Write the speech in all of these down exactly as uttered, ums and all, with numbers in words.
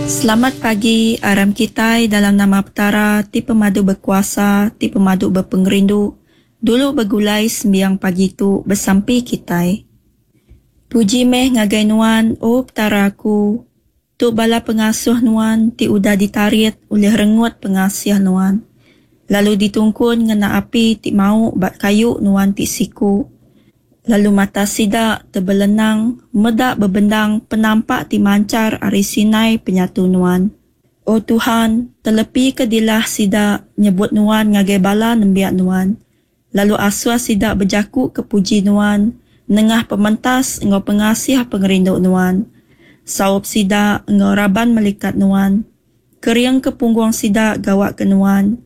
Selamat pagi, aram kitai dalam nama Petara ti pemadu bekuasa, ti pemadu bepengerindu, dulu begulai sembiang pagi tu besampi kitai. Puji meh ngagai Nuan, O Petara aku, tu bala pengasuh Nuan ti udah ditarit ulih rengut pengasih Nuan, lalu ditungkun ngena api ti mau ba kayu Nuan ti siku, lalu mata sida tebelenang meda bebendang penampak ti manchar ari Sinai penyatu Nuan. O Tuhan, telepika dilah sida nyebut Nuan ngagai bala nembiak Nuan, lalu asuh sida bejakuka puji Nuan nengah pementas enggau pengasih pengerindu Nuan. Saup sida enggau raban melikat Nuan. Keringka punggung sida gawa ke Nuan,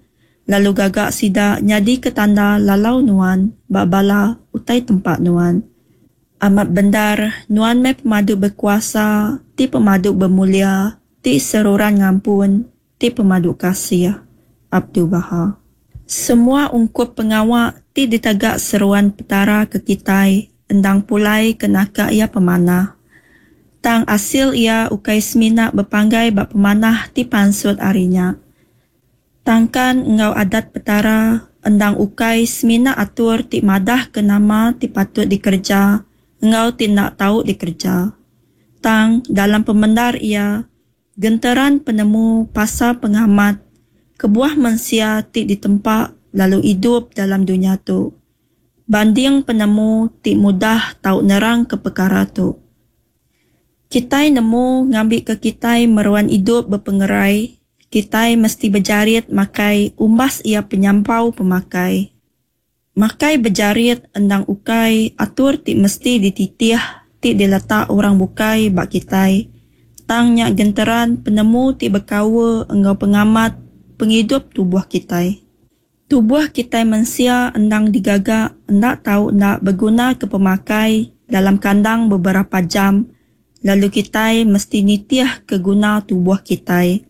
lalu gaga sida nyadika tanda lalau Nuan ba bala utai tempa Nuan. Amat bendar, Nuan meh Pemadu Bekuasa, ti Pemadu Bemulia, ti Seruran Ngampun, ti Pemadu Kasih. Abdu'l-Bahá. Semua ungkup pengawa ti ditaga seruan Petara ke kitai endang pulai ke naka iya pemanah. Tang asil iya ukai semina bepanggai ba pemanah ti pansut ari nya. Tangkan enggau adat Petara endang ukai semina atur ti madahka nama ti patut dikereja enggau ti enda tau dikereja. Tang dalam pemendar iya, genteran penemu pasal pengamat kebuah mensia ti ditempa lalu idup dalam dunya tu. Banding penemu ti mudah tau nerangka pekara tu. Kitai nemu ngambika kitai meruan idup bepengerai, kitai mesti bejarit makai umbas iya penyampau pemakai. Makai bejarit endang ukai atur ti mesti dititih ti diletak orang bukai ba kitai, tang nya genteran penemu ti bekaul enggau pengamat pengidup tubuh kitai. Tubuh kitai mensia endang digaga enda tau enda begunaka pemakai dalam kandang beberapa jam lalu kitai mesti nitihka guna tubuh kitai.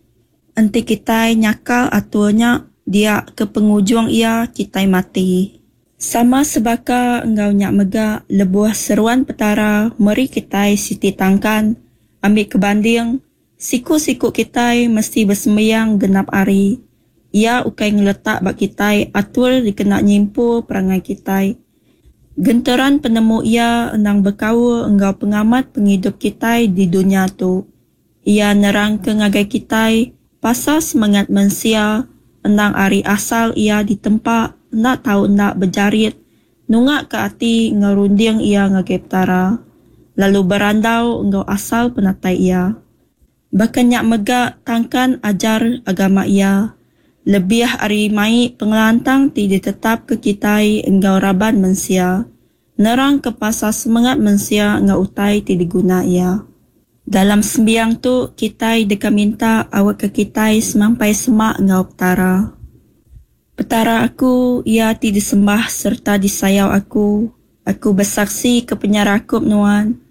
Enti kitai nyakal atur nya, dia ke pengujung iya kitai mati. Sama sebaka enggau nya mega lebuh seruan Petara meri kitai siti tangkan, ambika banding, siku-siku kitai mesti besembiang genap hari. Iya ukai ngeletak ba kitai atur dikena nyimpul perangai kitai. Genteran penemu iya endang bekaul enggau pengamat pengidup kitai di dunya tu. Iya nerangka ngagai kitai pasal semengat mensia endang ari asal iya ditempa enda tau enda bejarit nungaka ati enggau runding iya ngagai Petara, lalu berandau enggau asal penatai iya. Baka nya mega tangkan ajar agama iya, lebih ari mai pengelantang ti ditetapka kitai enggau raban mensia, nerangka pasal semengat mensia enggau utai ti diguna iya. Dalam sembiang tu, kitai deka minta awakka kitai semampai semak enggau Petara. Petara aku, iya ti disembah sereta disayau aku. Aku besaksi ke penyerakup Nuan.